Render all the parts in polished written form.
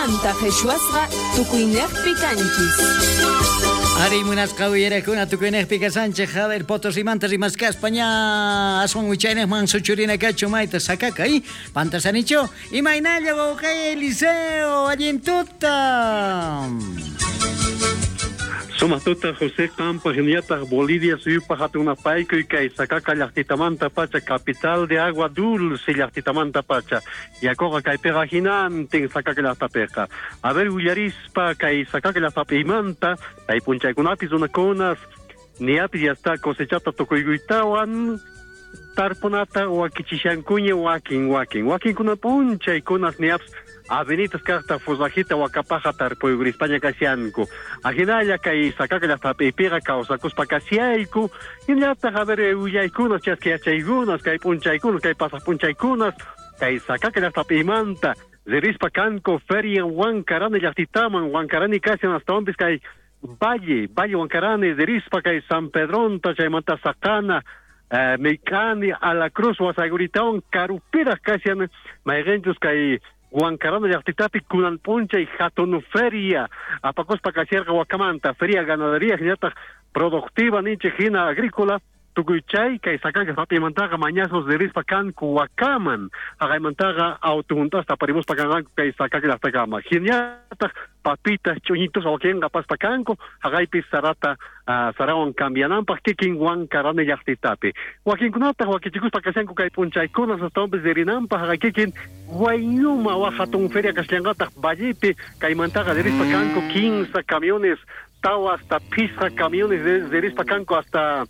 Anta qheshwasqa tukuynejpi kanchis. Ari munasqa uyarakuna tukuynejpi kasanchej, a ver, Potosimanta rimaskaspa ña aswan wichaynejman suchurina kachu mayta sakaka, y pantasanichu, imaynalla wawqey Eliseo, allin tuta. Sumaq tuta José qampaq hinallataq Bolivia suyupaq hatun napaykuy kay Sakaka llaqtitamanta pacha, capital de agua dulce llaqtitamanta pacha. Yakuqa kaypiqa hinantin Sakaka llaqtapiqa. A ver willarispa kay Sakaka llaqtapimanta, kay p'unchaykunapi runakunas niapis ya está cosechata tukuykuytawan tarpunata wakichishankuña wakin wakin. Wakinkuna p'unchaykunas niapis avenitas kaqta forrajita wakapaja tarpuykurispaña kashanku. Ajinalla kay Sakaka llaqtapipiqa kawsakuspa kashayku. Hinallataq a ver willaykunas chaski yachaykunas kay p'unchaykunas kay pasaq p'unchaykunas kay Sakaka llaqtapimanta ririspa kanku feria Huancarani llaqtitaman Huancarani kashan astawanpis kay Valle, Valle Huancarani ririspa kay San Pedronta chaymanta Saqana Micani a la Cruz wasayguritawan karupiraq kashan mayqinchus kay Huancarani llaqtitapi kunan p'unchay hatun feria apakuspa kasharqa wakamanta feria ganadería hinallataq productiva ninchik hina agrícola tukuy chay kay Sakaka llaqtapimantaqa mañasnos ririspa kanku wakaman haqaymantaqa auto hunt'asta aparimuspa kanqanku kay Sakaka llaqtakama hinallataq papitas ch'uñitus wakinqa apaspa kanku haqaypi sarata sarawan cambiananpaq kikin Huancarani llaqtitapi wakinkunataq wakichikuspa kashanku kay p'unchaykunas astawanpis ririnanpaq haqay kikin Huayñuma waq hatun feria kashallanqataq vallepi kaymantaqa ririspa kanku 15 camiones tawa hasta phisqa camiones ririspa kanku hasta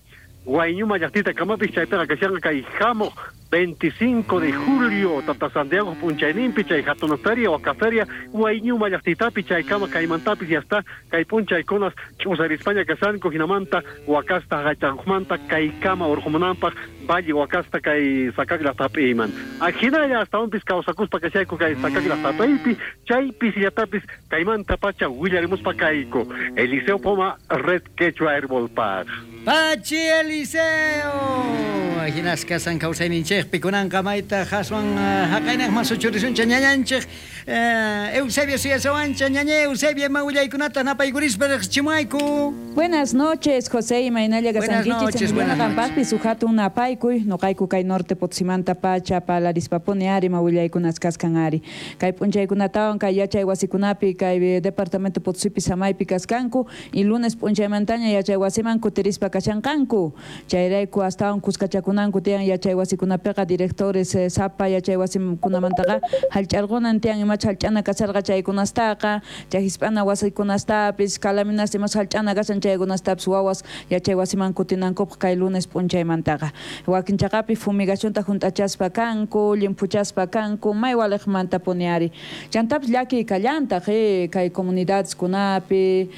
Huayñuma llaqtita kamapis chaypiqa kashanqa kay hamuq 25 de julio Tata Santiago p'unchayninpi chay hatun feria waka feria Huayñuma llaqtitapi chaykama kaymantapis ya está kay p'unchaykunas ch'usarispaña kashanku hinamanta wakasta haqaychaqmanta kaykama urqumunanpaq Valle wakasta kay Sakaka llaqtapiman. Ajinalla astawanpis kawsakuspa kashayku kay Sakaka llaqtapipi chaypis llatapis kaymanta pacha willarimuspa kayku. Eliseo Poma, Red Quechua Herbol Park. Pachi Eliseo! Ajinas kasan kawsayninchikpi kunanqa mayta haswan haqaynaqman suchurisuncha ñañanchik Eusebio suyasawancha ñaña Eusebio ima willaykunata napaykurispa riqsichimuayku. Buenas noches, José, imaynalla Buenas kasankichis noches, buenas noches. Qampaqpis suhatun napaykuy, noqayku kay norte Potosimanta pacha palarispapuni ari ima willaykunas kaskan ari. Kay p'unchaykunatawan kay yachay wasikunapi kay departamento Potosipi samaypi kaskanku y lunes p'unchaymantaña yachay wasiman kutirispa kashanqanku. Chayrayku astawan kuskachakunanku tiyan yachay wasikunapiqa directores sapa yachay wasikunamantaqa hallch'arqunan tiyan imacha hallch'ana kasharqa chaykunastaqa, chay hisp'ana wasikunastapis, calaminasta imacha hallch'ana kashan chaykunastapis wawas yachay wasiman kutinankupaq kay lunes p'unchaymantaqa. Wakin chaqapi fumigacionta hunt'achaspa kanku, llimphuchaspa kanku, may waliqmanta puni ari. Chantapis llakiy kallantaq, kay comunidadeskunapi,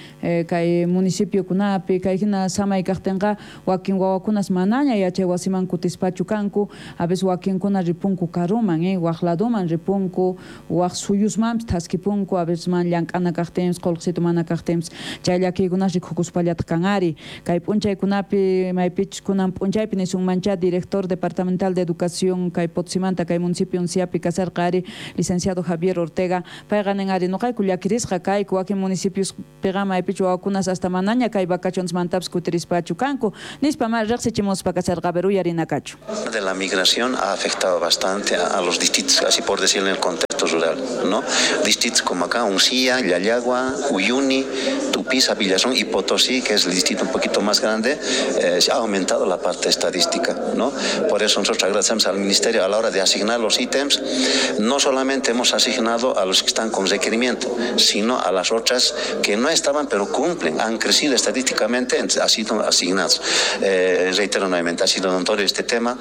kay municipiokunapi, kay hina samay kaqtinqa wakin wawakunas manaña yachay wasiman kutispachu kanku, a veces wakinkuna ripunku karuman, waq laduman ripunku, waq suyusmanpis thaskipunku, a veces man llank'ana kaqtinpis, qullqisitu mana kaqtinpis, chay llakiykunas rikukuspallataq kan ari. Kay p'unchaykunapi maypichus kunan p'unchaypi nisunmancha director departamental de educación kay Potosimanta kay municipio Unciapi kasarqa ari licenciado Javier Ortega, payqa nin ari nuqayku llakirisqa kayku wakin municipiospiqa maypichu wawakunas hasta manaña kay vacacionesmantapis kutirispachu kanku nispa ma riqsichimuspa kasarqa, a ver, uyarinakachu. De la migración ha afectado bastante a los distritos, así por decirlo, en el contexto rural, ¿no? Distritos como acá, Uncía, Llallagua, Uyuni, Tupiza, Villazón y Potosí, que es el distrito un poquito más grande, se ha aumentado la parte estadística, ¿no? Por eso nosotros agradecemos al Ministerio a la hora de asignar los ítems, no solamente hemos asignado a los que están con requerimiento, sino a las otras que no estaban, pero cumplen, han crecido estadísticamente, han sido asignados. Reitero nuevamente, ha sido notorio este tema.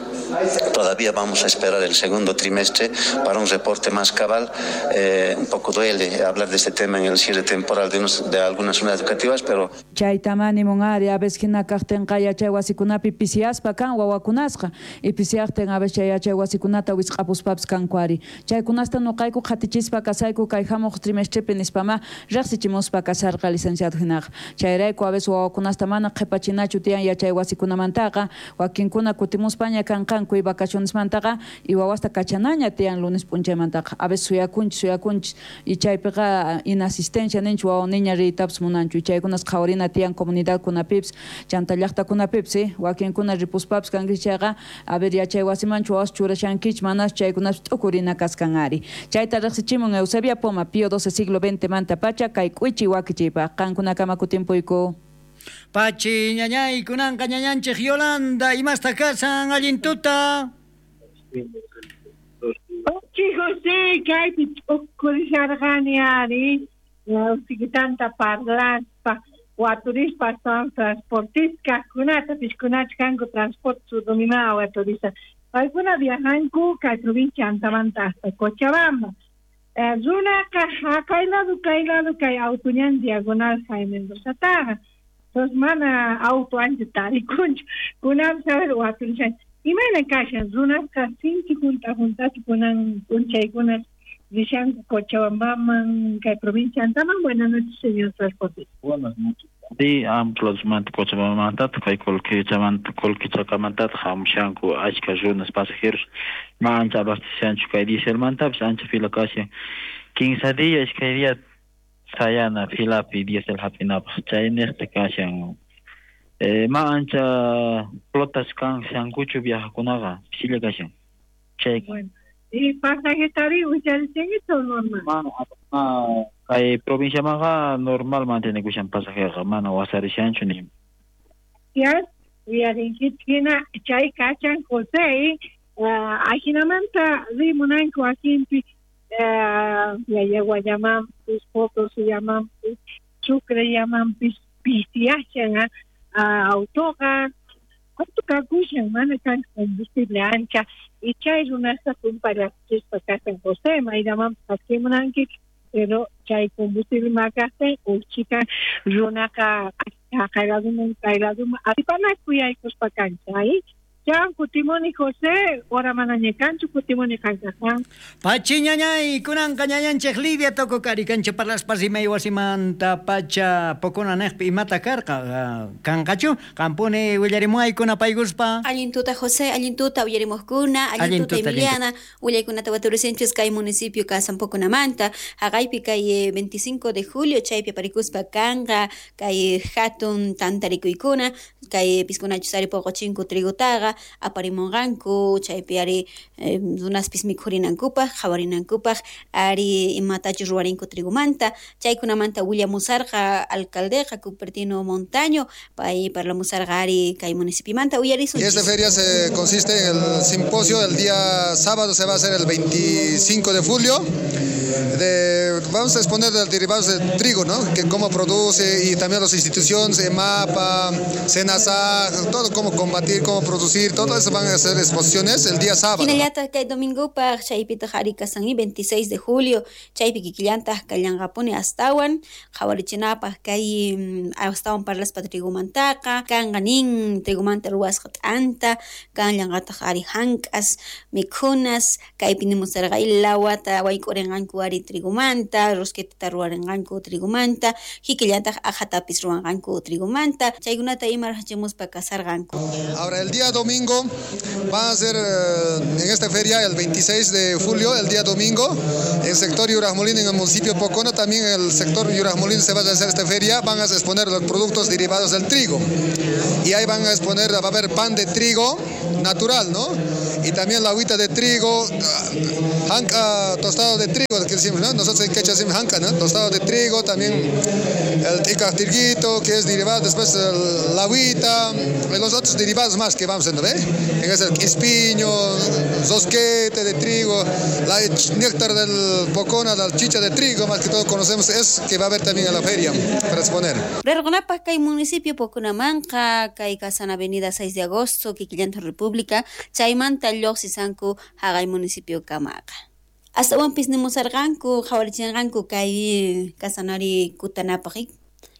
Todavía vamos a esperar el segundo trimestre para un reporte más cabal. Un poco duele hablar de este tema en el cierre temporal de algunas unidades educativas, pero... Chaytamani munari, a veces hina kaqtinqa yachay wasikunapi pisiaspa kan wawakunasqa, y pisiaqtin a veces chay yachay wasikunata wisq'apuspapis kanku ari. Chaykunasta nuqayku qhatichispa kasayku kay hamuq trimestrepi nispama riqsichimuspa kasarqa licenciado hinaqa. Chayrayku a veces wawakunasta mana qhipachinachu tiyan yachay wasikunamantaqa, wakinkuna kutimuspaña kanqanku y vacacionesmantaqa y wawasta kachanaña tiyan lunes p'unchaymantaqa. A veces suyakunchis y chaypiqa inasistencia ninchik wawa niña riytapas munanchu y chaykunas qhawarina tiyan comunidadkunapipis chanta llaqtakunapipis wakinkuna ripuspapis kankichik chayqa a ver yachay wasimanchu wawas churashankichik manachu chaykunapis t'ukurina kaskan ari. Chayta riqsichimun Eusebia Poma Pío XII siglo XX manta pacha kay k'uichi wakichiypaq qankunakama kutimpuyku. Pachi ñañay kunanqa ñañanchik Yolanda imasta kasan allin tuta. Pachi José kaypi t'ukurisharqani ari usikitanta parlaspa waturispa astawan transportista kaqkunata pishkunachu kanku transporte surumimaa waturista paykuna viajanku kay provincia Antamanta hasta Cochabamba. Runaqa haqay lado kay lado kay auto ñan diagonal Jaime Mendozataqa. Entonces mana auto ancha tarikunchu kunanpis a ver waturishan imayna kashan runasqa sinchi junta juntachu kunan p'unchaykunas rishanku Cochabambaman kay provincia Antaman. Buenas noches, señor transportista. Buenas noches. Sí, amplosmanta Cochabambamantataq kay Colquechacamantataq hamushanku achka runas pasajeros ma ancha abasteceshanchu kay dieselmantapis ancha fila kashan 15 día iskay día sayana filapi diesel hap'inapaq chayniqta kashan ma ancha flotas kashankuchu viajakunaqa pisilla kashan chay. Bueno, y pasajetari willarichinkichu normal? Ma kay provinciamanqa normal mantenekushan pasajeqa mana wasarishanchu ni. Gracias, uyarinkichik hina chay kashan José ajinamanta rimunanku wakinpi Llallaguallamanpis Potosillamanpis Sucrellamanpis pisiyashan autoqa auto kakushan mana kanchu combustible ancha y chay runasta tumpallachispa kashan José mayllamanpis adquimunanki pero chay combustible makaqtin uqchika runaqa haqay laduman kay laduman atipanaku yaykuspa kancha ay. Chan kutimuni José, ora manaña kanchu kutimuni qankaqan. Pachi ñañay, kunanqa ñañanchik Lidia Tococari kancha parlaspa rimay wasimanta pacha pokuna neqpi imata karqa kanqachu qampuni willarimuwaykuna paykuspa. Allin tuta José, allin tuta uyarimuqkuna, allin tuta Emiliana, willaykunata waturisinchis kay municipio kasan Poconamanta, haqaypi kay 25 de julio chaypi aparikuspa kanqa kay hatun tantarikuykuna, kay piskunachus ari poqochinku trigutaqa aparimunqanku chaypi ari runaspis mikhurinankupaq qhawarinankupaq ari imatachus ruwarinku trigumanta chaykunamanta willamusarqa alcaldeqa Cupertino Montaño pay parlamusarqa ari kay municipiomanta uyarisunchis. Y esta feria se consiste en el simposio del día sábado, se va a hacer el 25 de julio. Vamos a exponer los derivados del trigo, ¿no? Que cómo produce y también las instituciones, EMAPA, SENASA, todo cómo combatir, cómo producir, todo eso van a hacer exposiciones el día sábado. Hinallataq kay domingopaq chaypitaq ari kasan 26 de julio chaypi kikillantaq kallanqapuni astawan qhawarichinapaq kay astawan parlaspa trigumantaqa kanqa nin trigumanta ruwasqa t'anta kanllanqataq ari hank'as mikhunas kaypi nimusarqa lawata wayk'urinqanku ari trigumanta rosquetata ruwarinqanku trigumanta kikillantaq aqhatapis ruwanqanku trigumanta chaykunata ima rachimuspa kasarqanku. Ahora el día domingo va a ser en esta feria el 26 de julio, el día domingo, en el sector Yurajmolín, en el municipio Pocona, también en el sector Yurajmolín se va a hacer esta feria, van a exponer los productos derivados del trigo. Y ahí van a exponer, va a haber pan de trigo natural, ¿no? Y también la agüita de trigo, janca, tostado de trigo, que decimos, ¿no? Nosotros en quechua decimos janca, ¿no? Tostado de trigo, también el ticajtirguito, que es derivado, después la agüita, y los otros derivados más que vamos haciendo, ¿ve? En ese espiño, zosquete de trigo, la néctar del pocona, la chicha de trigo, más que todo conocemos, es que va a haber también en la feria para exponer. Rergonapaj kay municipio Poconamanqa, kay kasan avenida 6 de agosto, kikillanta República, chaymanta lluqsisanku haqay municipio kamaqa. Astawanpis nimusarqanku qhawarichinqanku kay kasanari kutanapaq,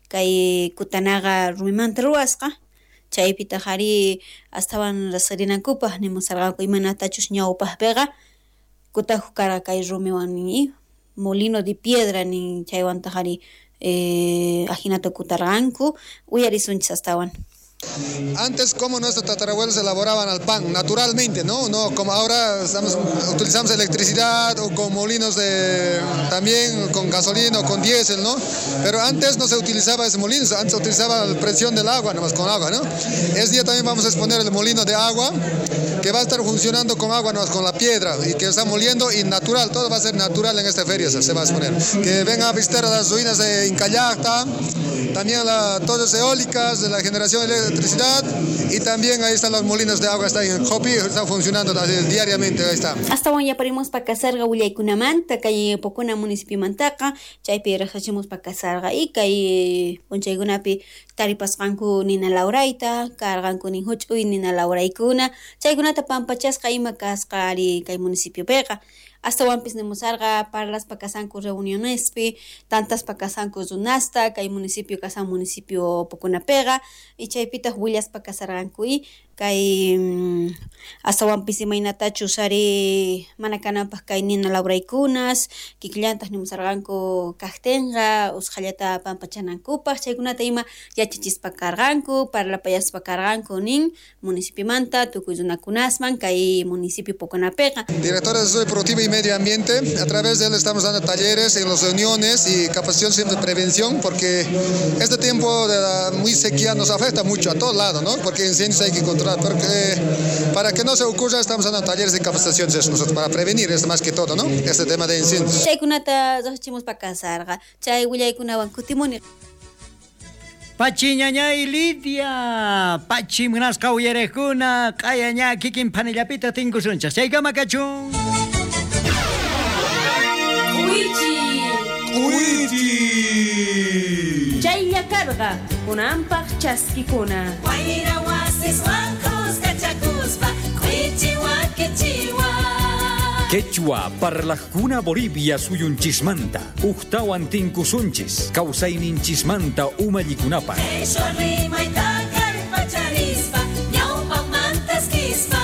kay kutanaqa rumimanta ruwasqa, chaypitaq ari astawan riqsirinankupaq nimusarqanku imanatachus ñawpaqpiqa kutajuq karqa kay rumiwan nin molino de piedra nin chaywantaq ari ajinata kutarqanku uyarisunchis astawan. Antes, como nuestros tatarabuelos elaboraban el pan, naturalmente, ¿no? No como ahora utilizamos electricidad o con molinos también con gasolina o con diésel, ¿no? Pero antes no se utilizaba ese molino, antes se utilizaba la presión del agua, nomás con agua, ¿no? Ese día también vamos a exponer el molino de agua, que va a estar funcionando con agua, nomás con la piedra, y que está moliendo y natural, todo va a ser natural en esta feria, se va a exponer. Que vengan a visitar las ruinas de Incallacta, también las torres eólicas de la generación de electricidad, y también ahí están los molinos de agua, está en Jopi, está funcionando diariamente, ahí está. Hasta ya parimos pa kasarga willaykunamanta kay Pocona municipiomantaqa, chaypi riqsichimus pa kasarga y kay p'unchaykunapi taripasqanku nina lawrayta, karqanku nin huch'uy nina lawraykuna, chaykunata pampachasqa ima kasqa ari kay municipiopiqa. Astawanpis nimusarqa parlaspa kasanku reunionespi, tantaspa kasanku runasta, kay municipio kasan municipio Poconapiqa, y chaypitaq willaspa kasarqanku y kay astawanpis imaynatachus ari mana kananpaq kay nina lawraykunas, kikillantaq nimusarqanku kaqtinqa usqhallata pampachanankupaq, chaykunata ima yachachispa karqanku, parlapayaspa karqanku nin municipiomanta tukuy runakunasman kay municipio Poconapiqa. Director de Desarrollo Productivo y Medio Ambiente, a través de él estamos dando talleres en las reuniones y capacitación de prevención, porque este tiempo de la muy sequía nos afecta mucho a todos lados, ¿no? Porque incendios hay que controlar, porque para que no se ocurra estamos dando talleres de capacitación nosotros para prevenir esto más que todo, ¿no? Este tema de incendios. Chaykunata riqsichimus pa kasarqa, chay willaykunawan kutimuni. Pachi ñañay Lidia, pachi munasqa uyariqkuna, q'ayaña kikin panillapita tinkusunchaq, chaykama kachun. K'uichi. Chaylla karqa kunanpaq chaskikuna. Wayra wasiswan kuskachakuspa k'uichi wakichiwa. Quechua parlajkuna Bolivia suyunchismanta, uqtawan tinkusunchis, kawsayninchismanta umallikunapaq. Quechua rimayta kallpacharispa ñawpaqmantaskispa.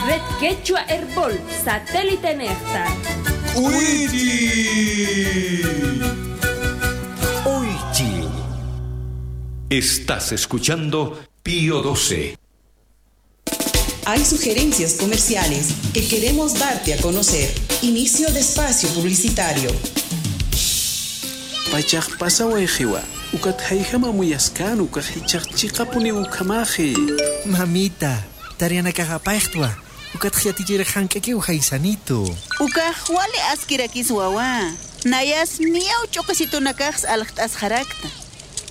Red Quechua Herbol, satélite nejta. K'uichi. Oichi. Estás escuchando Pío 12. Hay sugerencias comerciales que queremos darte a conocer. Inicio de espacio publicitario. Pachaq pasawayqiwa, ukat hayhama muyaskan ukaq hichaq chiqapuni ukamaji. Mamita, tarianakaqapayqtwa. Ukat yatichira hank'aki uhaysanito. Ukaq wali askirakis wawa. Nayas miyaw ch'uqisitunakaqs alqt'as harakta.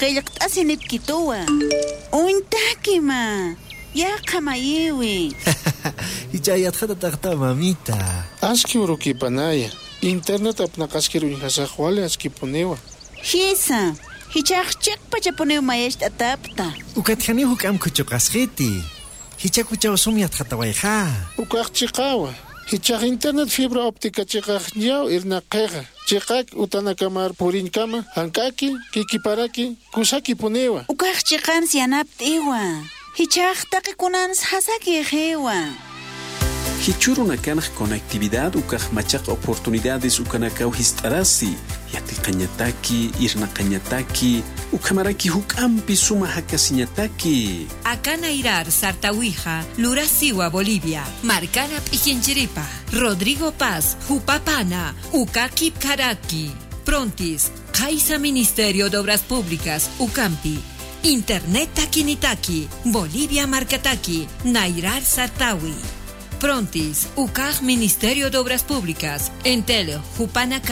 Qillqt'asi nipkituwa. Untakima. Yaqa mayiwi. Hichayatqata taqta mamita. Aski urukipanaya. Internet apnaqaskiru inhasaq wali askipuniwa. Hisa. Hichaq chiqpachapuniw mayashta atapta. Ukat huk amkuchuqasqiti. Hichakuchaw sumyatqatawayqa. Ukaq chiqawa. Hichaq internet fibra óptica chiqaq ñaw irnaqiqa. Chiqak utanakamar purinkama hank'aki kikiparaki kusaki puniwa. Ukaq chiqan sianapt'iwa. Hichaq taqikunans hasaki qiwa. Hichurunakanaq conectividad ukaq machaq oportunidades ukanakaw hist'arasi. Yatiqañataki, irnaqañataki, ukamaraki huk'ampi suma hakasiñataki. Akanairar Sartawija, Lurasiwa, Bolivia, Marcana Pijinchiripa, Rodrigo Paz, Jupapana, Ukaki Karaki, Prontis, Kaisa Ministerio de Obras Públicas, Ucampi, Internet Takinitaki, Bolivia Marcataki, Nairar Sartawi. Prontis, UCAJ Ministerio de Obras Públicas, Entel, Jupana.